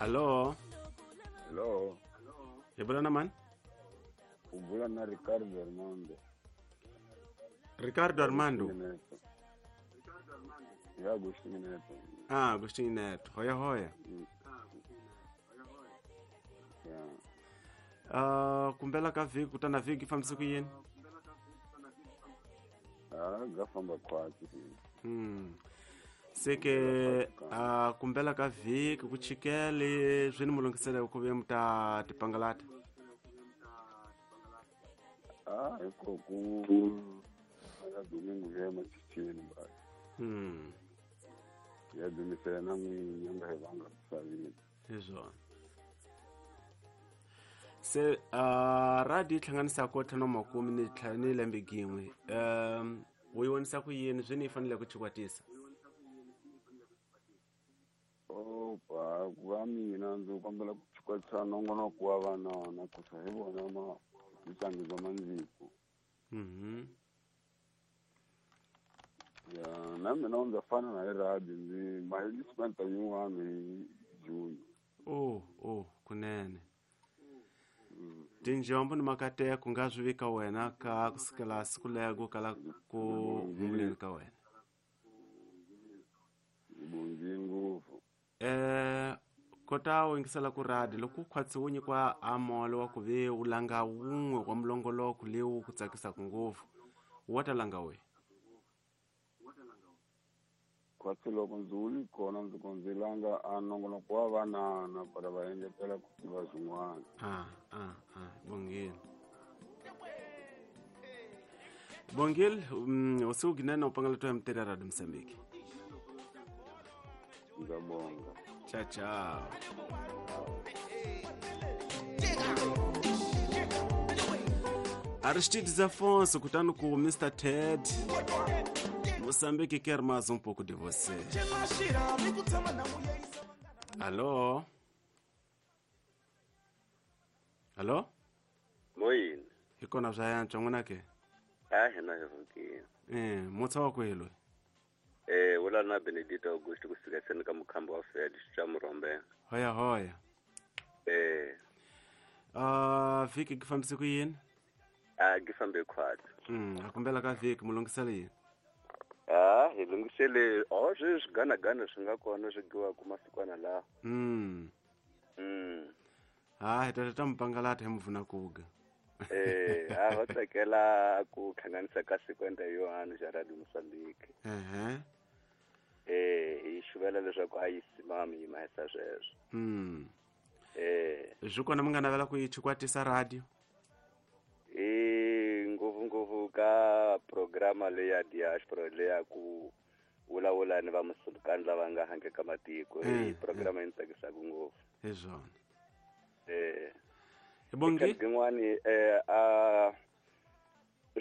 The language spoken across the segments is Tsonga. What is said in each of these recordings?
Allo? Hello. Hi vula na mani? U bula na Ricardo Armando. Ricardo Armando. Neto. Ya Agostinho Neto. Ah, Agostinho Neto. Hoya hoya. Ya. Kumbela ka vhiki ku ta na vhiki fambise ku yini? Ah, ga famba khwatsi. Se ke kumbela ka vhiki ku chikele swi ni mu lunghisela ku ve mi ta tipangalata. Ah, hiko ku ya domingo ya machichini ba. Ya dumisela na n'winyi nga hi vanga misaveni. Hi swona. Se radio yi hlanganisaka ntlhanu wa makume ni ni lembe gin'we. U yi vonisa ku yini swi ni yi fanele ku chikwatisa? Opa, ku va mina ndzi kombela ku chikwatisa nongonoko wa vanana ku sa hi vona ma mitlangu bya mandziko. Ya, na mina ndza fana na hi radio ndzi mahelisimenta yin'wana hi June. Oh, kunene. Tinjombo ni makateko nga swi vika wena ka kusukela siku lego kala ku humuleni ka wena. Bongile ngopfu. Kota u yingisela ku radio loko u khwatsi wu nyikiwa a molo wa ku ve u langa wun'we wa mulongoloko lewu ku tsakisaka ngopfu, wa ta langa we? Khwatsi loko ndzi wu li kona ndzi ko ndzi langa a nongonoko wa vanana para va engetela ku tiva swin'wana. Bongile. Bongile, usiku ginene u pangala to ya Radio Mozambique. Ngiyabonga. Ciao ciao. Aristides Afonso kutani ku Mr. Ted. Moçambique quer mais um pouco de você. Alô? Alô? Moyini. Hi kona bya yantswa n'wina ke? A hina hi vukile. Mutsa wa kwihi loyi? Wula na Benedito Augusto kusuka seni ka mukhamba wa Fed xa Murhombe. Hoya hoya. Vhiki ki fambise ku yini? Ki fambe khwatsi. A kumbela ka vhiki mu lunghisela yini? Hi lunghisele swi swiganagana swi nga kona swi giwaka masikwana lawa. Hi ta mupangalata hi muvuna kuga. Va tsakela ku hlanganisa ka sikwenda Yohane xa Radio Mozambique. Hi xuvela leswaku a yi simami yi mahisa sweswo. Swi kona mi nga navela ku yi chikwatisa radio? Ngopfungopfu ka programa leya diaspora leya ku vulavula ni va musulukani lava nga handle ka matiko. Hi programa yi ni tsakisaka ngopfu. Hi swona. Bongi yin'wani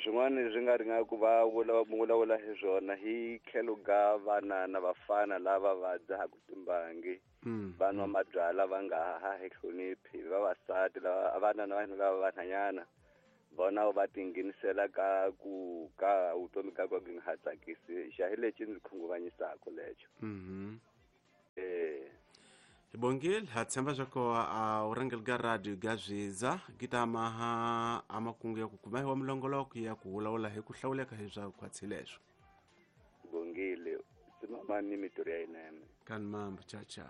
swin'wana swi nga ri nga ku va vulavula hi swona hi tlhelo ka vana na vafana lava va dzahaku timbangi, va nwa mabyalwa va nga ha hi hloniphi, vavasati lava vana na vanhu lava vanhanyana vona va tinghenisela ka ku ka vutomi ka ku nga ha tsakisi. Xa hi lexi ndzi khunguvanyisaka lexo. Bongile, ha tshemba swa ko a u rhangeli ka radio ga zwiza ki ta maha a makungu ya ku kuma hi wa mulongoloko ya ku vulavula hi ku hlawuleka hi swa khwatsi leswo. Bongile, simamani mitirho ya yinene. Kan mambo, ciao ciao.